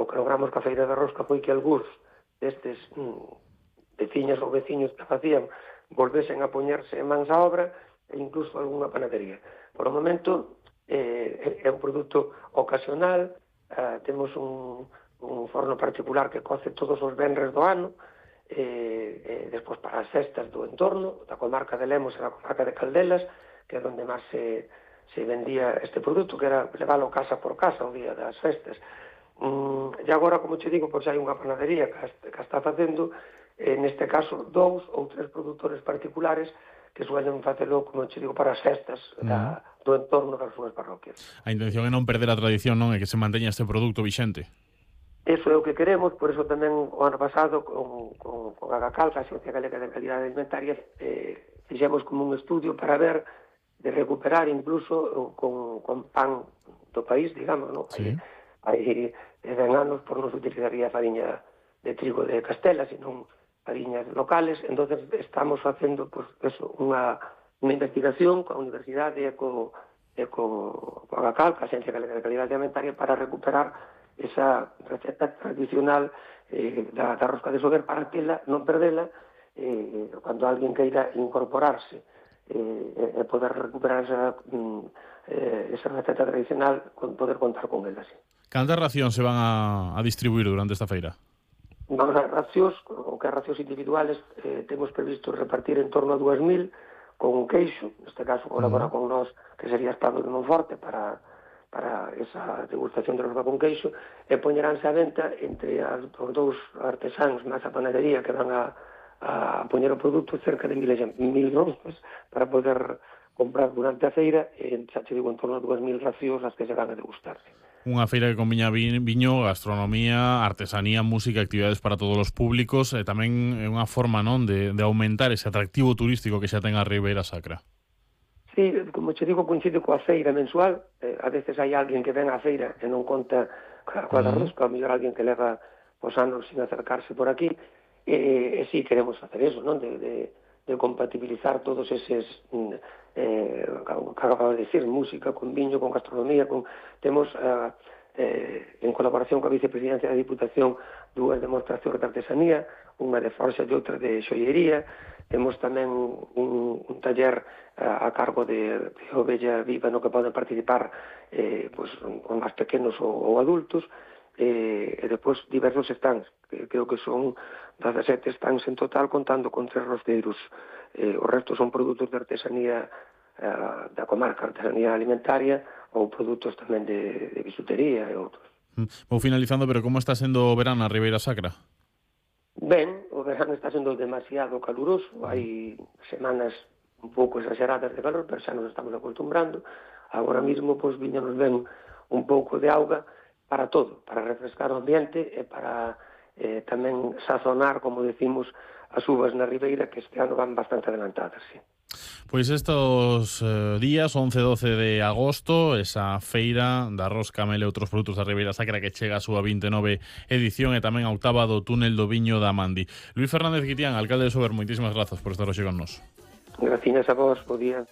que logramos ca Feira da Rosca foi que algúns destes veciñas ou veciños que facían volvesen a poñerse en mans á obra e incluso algunha panadería. Por o momento é un produto ocasional, temos un forno particular que coce todos os venres do ano, despois para as festas do entorno, da comarca de Lemos e da comarca de Caldelas, que é onde máis se vendía este produto, que era leválo casa por casa o día das festas. E agora, como te digo, pois hai unha panadería que está facendo, neste caso, 2 ou 3 produtores particulares que suelen facelo, como te digo, para as festas do entorno das súas parroquias. A intención é non perder a tradición, non? É que se manteña este produto vixente. Eso é o que queremos, por eso tamén o ano pasado con Agacal, a Axencia Galega de Calidade Alimentaria, fixemos como un estudio para ver de recuperar incluso con pan do país, digamos, non? Sí. Hai 10 anos por non se utilizaría fariña de trigo de Castela, senón fariñas locales. Entonces estamos facendo pues, eso, unha investigación coa Universidade e co Agacal, a Axencia Galega de Calidade Alimentaria, para recuperar esa receta tradicional da rosca de Sober, para tela, non perdela, cando alguén queira incorporarse e poder recuperar esa receta tradicional, poder contar con ela, sí. Cantas racións se van a distribuir durante esta feira? Vamos a racións, o que racións individuales, temos previsto repartir en torno a 2.000 con queixo, neste caso colabora con nós, que sería Espado de Monforte, para esa degustación de rosca con queixo, e poñeránse a venta entre os dous artesáns máis a panadería que van a poñer o produto cerca de 1.000 roscas para poder comprar durante a feira, e xa te digo, en torno a 2.000 racións as que se van a degustar. Unha feira que combina viño, gastronomía, artesanía, música, actividades para todos os públicos, e tamén é unha forma, non, de aumentar ese atractivo turístico que xa ten a Ribeira Sacra. Sí, como te digo, coincide coa feira mensual. A veces hai alguén que ven á feira e non conta coa da rosca, a mellor alguén que leva os anos sin acercarse por aquí, e sí, queremos facer eso, non? De compatibilizar todos eses que acabo de decir, música con viño, con gastronomía, temos en colaboración coa Vicepresidencia da Diputación 2 demostracións de artesanía, unha de forxa e outra de xoiería. Temos tamén un taller a cargo de Ovella Viva no que poden participar con máis pequenos ou adultos, e depois diversos stands, que creo que son 17 stands en total, contando con 3 rosteiros. O resto son produtos de artesanía da comarca, artesanía alimentaria, ou produtos tamén de bisutería e outros. Vou finalizando, pero como está sendo o verán na Ribeira Sacra? Ben, o verán está sendo demasiado caluroso, hai semanas un pouco exageradas de calor, pero xa nos estamos acostumbrando. Agora mesmo, pois, viñanos ben un pouco de auga para todo, para refrescar o ambiente e para tamén sazonar, como decimos, as uvas na Ribeira, que este ano van bastante adelantadas, sí. Pois estos días, 11 e 12 de agosto, esa feira da rosca, mel e outros produtos da Ribeira Sacra que chega a súa 29 edición e tamén a 8ª do túnel do Viño da Mandi. Luís Fernández Guitián, alcalde de Sober, moitísimas grazas por estar hoxe con nós. Gracias a vos, bo día.